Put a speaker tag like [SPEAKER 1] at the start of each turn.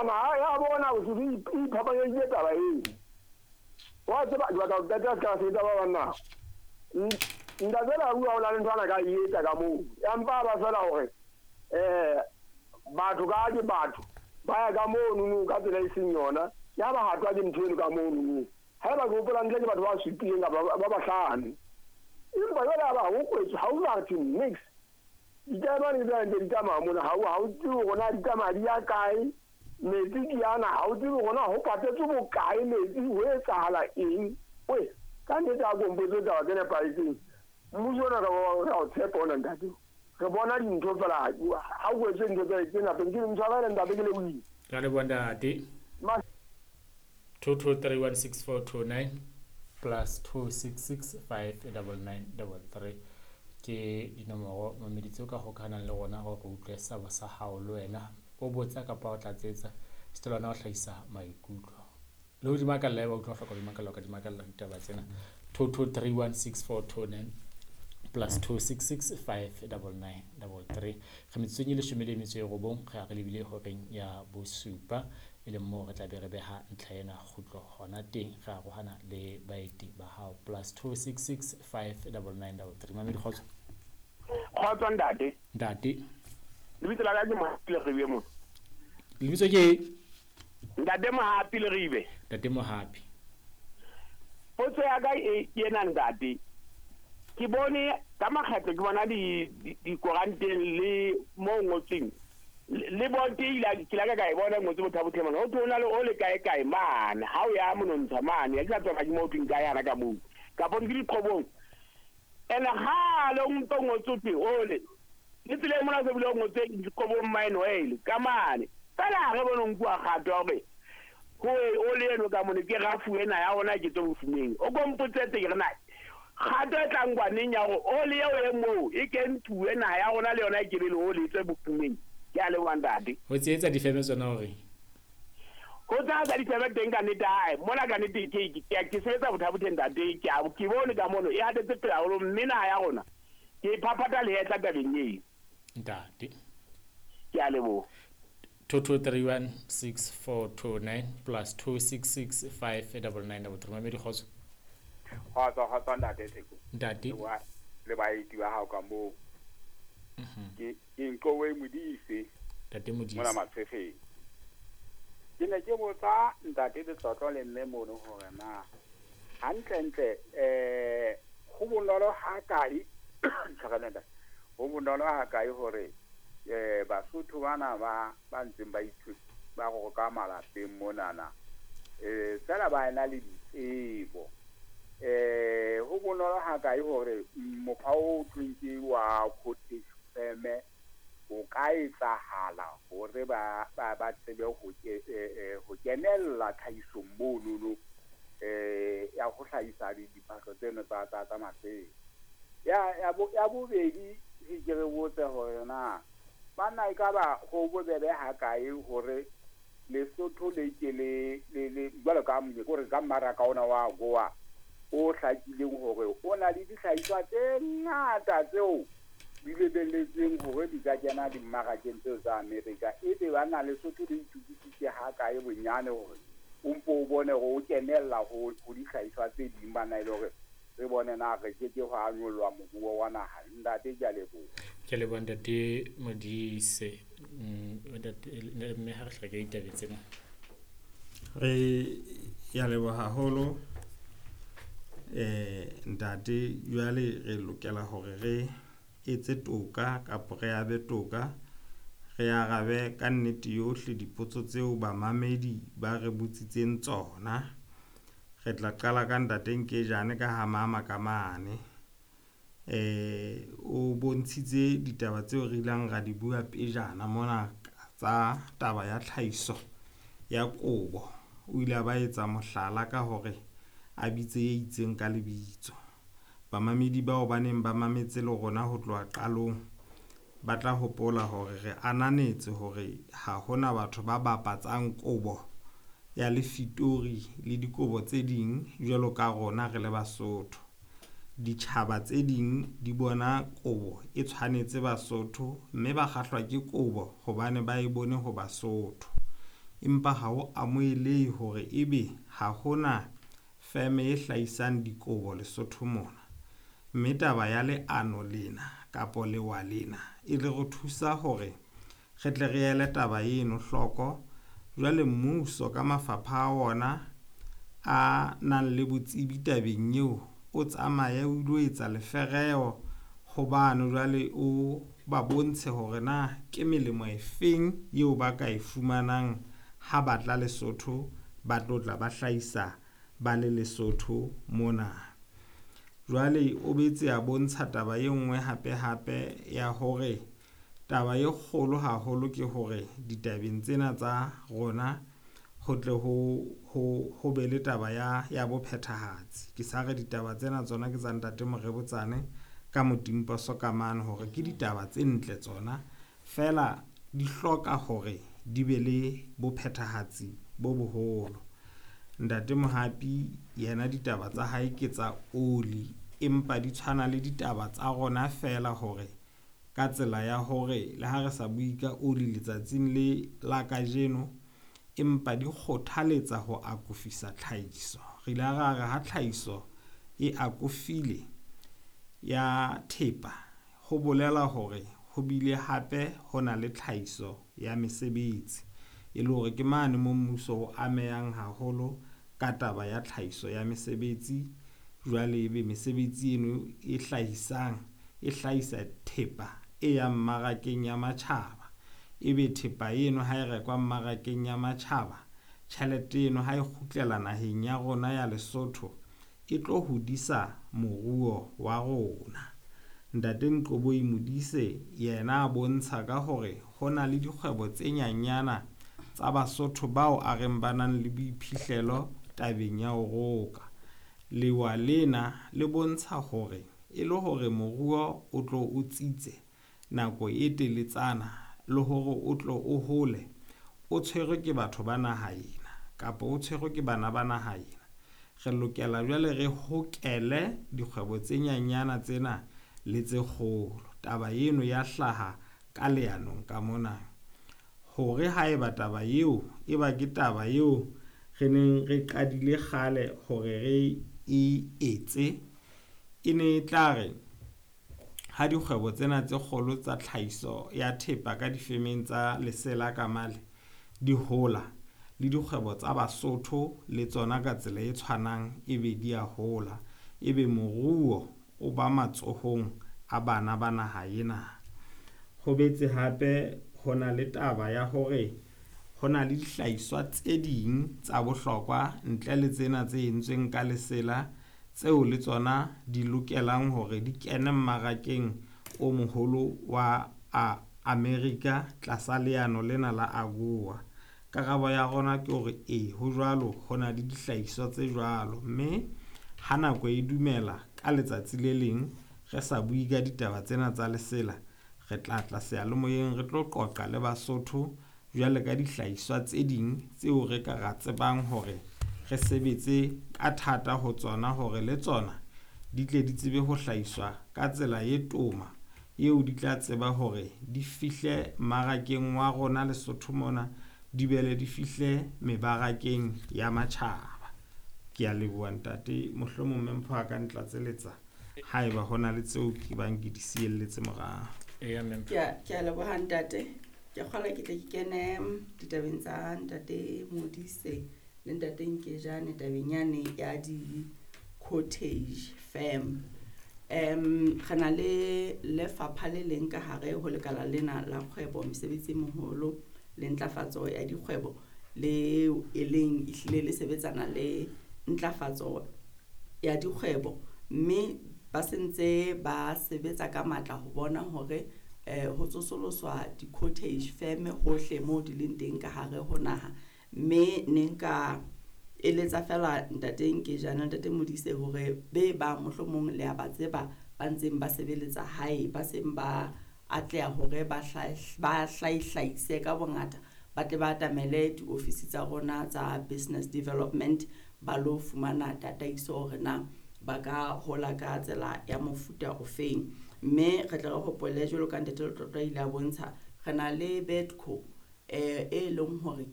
[SPEAKER 1] Empa naha ya bona Bosotho e iphapanyeditse taba eo. Wa tseba ke batla ho qeta se ka sebetsa ba bang na. Ntate Lerua o na le ntho ana ka e etsa ka moo. Ya mpa ba fela hore batho ka ke batho ba ya ka mono ka tsela e seng yona. Ya ba hatwa ke ntho eno ka mono. Haeba ke hopola ntle ke batho ba supileng kapa ba bahlano. Empa jwale ha ba ho kwetswe ha o batho mix. Ditaemane ke tsena ntse di tsamaya mona ha o tsebe hore na di tsamaya di ya kae. Metsi ke ana ha o tsebe hore na ho patetswe bokae metsi ho etsahala eng. We ka nnete ha ko mpotse taba tse nepahetseng. Mmuso ona ka re o tshepa ona ntate. Re bona dintho fela ha o etse ntho tse napeng ke ntshwarele ntate ke lebohile.
[SPEAKER 2] Ka leboha ntate. 22316429 plus 26659933 ke dinomoro mamedi tseo ka hokahanang le rona hore re utlwe sabo sa hao le wena o botsa kapa o tlatsetsa setolwana o hlahisa maikutlo le ho di makalla eba utlwa hloka di makalla ka di makalla ditaba tsena 22316429 plus 26659933 re metsotsong e leshome le metso e robong re a re lebile horeng ya bosupa e leng moo re tla be re beha ntlha ena kgutlo hona teng re arohana le baeti ba hao plus 26659933 mamedi kgotso.
[SPEAKER 3] Kgotso ntate.
[SPEAKER 2] Ntate.
[SPEAKER 3] Lebitso la ka ke Mohapi Leribe mo.
[SPEAKER 2] Lebitso ke
[SPEAKER 3] Ntate Mohapi Leribe.
[SPEAKER 2] Ntate Mohapi.
[SPEAKER 3] Potso ya ka e ke ena ntate. Ke bone ka makgetlo ke bona di dikoranteng le mo ngotsweng le bonte ila ke la ka e bona ngotse bothabothe mona ho thona le o le kae kae mane ha o ya monontsha mane ya ke sa tswa ke mo thweng kae yana ka moo ka bone ke diqhobong ene ha le ntho ngotse twe ole le tsile mona se bile ngotse diqhobong mine oil ka mane fela re bone nkuwa kgato hore ho o le eno ka mone ke rafu ena ya ona ke tlo bofumeng o kompotsetse ke re na kgato e tlang kwaneng ya hore ole eo e moo e kentuwe naha ya rona le yona e kebe le ole e tswe bofumeng. Ke a leboha ntate.
[SPEAKER 2] Ho tshehetsa difeme tsona hore
[SPEAKER 3] ho tshehetsa difeme teng ka nnete hae mona ka nnete ke sebetsa bothabothe ntate ke a ke bone ka mono e hatetse pele haholo mme naha ya rona ke phaphatha lehetla tabeng eo
[SPEAKER 2] ntate.
[SPEAKER 3] Ke a leboha.
[SPEAKER 2] 22316429 plus 26659933 mamedi kgotso.
[SPEAKER 4] Kgotso kgotso ntate Theko.
[SPEAKER 2] Ntate.
[SPEAKER 4] Le baeti ba hao ka moo. Ke Nkowe Modise.
[SPEAKER 2] Ntate Modise.
[SPEAKER 4] Mona Matshefeng. Ke ne ke botsa ntate Letlotlo le mme mono hore na hantlentle ho bonolo ha kae tshwareleng ho bonolo ha kae hore Basotho bana ba ntseng ba ithuta ba roka malapeng monana fela ba ena le ditsebo ho bonolo ha kae hore mokgwa o thweng ke wa cottage firm o ka etsahala hore ba tsebe ho kenella tlhahisong monono ya ho hlahisa diphahlo tseno tsa masela. Ya bobedi ke re botse hore na banna e ka ba ho bobebe ha kae hore Lesotho le ke le jwalo ka hore ka mmaraka ona wa Goa o hlakileng hore o na le dihlahiswa tse ngata tseo di lebelletsweng hore di ka kena dimmarakeng tseo tsa Amerika. Ebe ba na Lesotho le itokisitse ha kae bonyane hore o mpo o bone hore o kenella ho dihlahiswa tse ding bana e le hore re bone na re ke ke ho anyollwa moruo wa naha. Ntate ke a leboha.
[SPEAKER 2] Ke leboha ntate Modise. Ntate mme ha re hleke ditaba tsena.
[SPEAKER 5] Re ya leboha haholo ntate. Jwale re lokela hore re etse toka kapa re abe toka, re arabe ka nnete yohle dipotso tseo bamamedi ba re botsitseng tsona. Re tla qala ka ntate Nkejane ka ha mama ka mane. O bontshitse ditaba tseo re ileng ra di bua pejana mona tsa taba ya tlhahiso ya kobo. O ile a ba etsa mohlala ka hore a bitse e itseng ka lebitso. Bamamedi bao ba neng ba mametse le rona ho tloha qalong ba tla hopola hore re ananetse hore ha hona batho ba bapatsang kobo ya lefitori le dikobo tse ding jwalo ka rona re le Basotho. Ditjhaba tse ding di bona kobo e tshwanetse Basotho mme ba kgahlwa ke kobo hobane ba e bone ho Basotho. Empa ha ho amohelehe hore ebe ha hona feme e hlahisang dikobo Lesotho mona. Mme taba ya leano lena kapo lewa lena e le re thusa hore re tle re ele taba eno hloko. Jwale mmuso ka mafapha a ona a nang le botsebi tabeng eo, o tsamaye o ilo etsa lefereho ho bano jwale o ba bontshe hore na ke melemo e feng eo ba ka e fumanang ha batla Lesotho ba tlo tla ba hlahisa ba le Lesotho mona. Jwale o betse a bontsha taba e nngwe hape hape ya hore taba e kgolo haholo ke hore ditabeng tsena tsa rona ho tle ho be le taba ya bophethahatsi. Ke sa re ditaba tsena tsona ke tsa ntate Morebutsane ka Motimposo ka mane hore ke ditaba tse ntle tsona, fela di hloka hore di be le bophethahatsi bo boholo. Ntate Mohapi yena ditaba tsa hae ke tsa oli, empa di tshwana le ditaba tsa rona fela hore ka tsela ya hore le ha re sa bue ka oli letsatsing le la kajeno, empa di kgothaletsa ho akofisa tlhahiso. Re ile ra re ha tlhahiso e akofile ya thepa, ho bolela hore ho bile hape ho na le tlhahiso ya mesebetsi, e le hore ke mane mo mmuso o amehang haholo ka taba ya tlhahiso ya mesebetsi. Jwale ebe mesebetsi eno e hlahisang e hlahisa thepa e yang mmarakeng ya matjhaba, ebe thepa eno ha e rekwa mmarakeng ya matjhaba, tjhelete eno ha e kgutlela naheng ya rona ya Lesotho e tlo hodisa moruo wa rona. Ntate Nqoboi Modise yena a bontsha ka hore ho na le dikgwebo tse nyanyana tsa Basotho bao a reng ba nang le boiphihlelo tabeng ya ho roka. Lewa lena le bontsha hore e le hore moruo o tlo o tsitse nako e teletsana le hore o tlo o hole, o tshwerwe ke batho ba naha ena kapa o tshwerwe ke bana ba naha ena. Re lokela jwale re hokele dikgwebo tse nyanyana tsena le tse kgolo. Taba eno ya hlaha ka leanong ka mona hore haeba taba eo e ba ke taba eo re neng re qadile kgale hore re e etse, e ne e tla re ha dikgwebo tsena tse kgolo tsa tlhahiso ya thepa ka difemeng tsa lesela ka male di hola, le dikgwebo tsa Basotho le tsona ka tsela e tshwanang ebe di a hola, ebe moruo o ba matsohong a bana ba naha ena. Ho betse hape ho na le taba ya hore ho na le dihlahiswa tse ding tsa bohlokwa ntle le tsena tse entsweng ka lesela tseo le tsona di lokelang hore di kene mmarakeng o moholo wa Amerika tlasa leano lena la AGOA. Karabo ya rona ke hore ee, ho jwalo, ho na le dihlahiswa tse jwalo, mme ha nako e dumela ka letsatsi le leng re sa bue ka ditaba tsena tsa lesela, re tla tla seyalemoyeng re tlo qoqa le Basotho jwale ka dihlahiswa tse ding tseo re ka ra tsebang hore re sebetse ka thata ho tsona hore le tsona di tle di tsebe ho hlahiswa ka tsela e toma eo di tla tseba hore di fihle mmarakeng wa rona Lesotho mona, di bele di fihle mebarakeng ya matjhaba. Ke a leboha ntate, mohlomong Mme Mpho a ka ntlatseletsa haeba hona le tseo ke bang ke di sielletse morao.
[SPEAKER 2] Eya, Mme Mpho.
[SPEAKER 6] Ke a leboha ntate. Ke kgolwa ke tle ke kene ditabeng tsa ntate Modise le ntate Nkejane tabeng yane ya di-cottage firm. Re na le lefapha le leng ka hare ho lekala lena la kgwebo, mesebetsi e moholo le ntlafatso ya dikgwebo, le e leng ehlile le sebetsana le ntlafatso ya dikgwebo, mme ba sentse ba sebetsa ka matla ho bona hore ho tsosoloswa di-cottage firm hohle moo di leng teng ka hare ho naha. Mme ne nka eletsa fela ntate Nkejane, ntate Modise hore be ba mohlomong le a ba tseba ba ntseng ba sebeletsa hae, ba seng ba atleha hore ba hlahihlahise ka bongata, ba tle ba atamele diofisi tsa rona tsa business development ba lo fumana tataiso hore na ba ka hola ka tsela ya mofuta ofeng. Mme re tle re hopole jwalo ka ntate Letlotlo a ile a bontsha, re na le Bedco e leng hore ke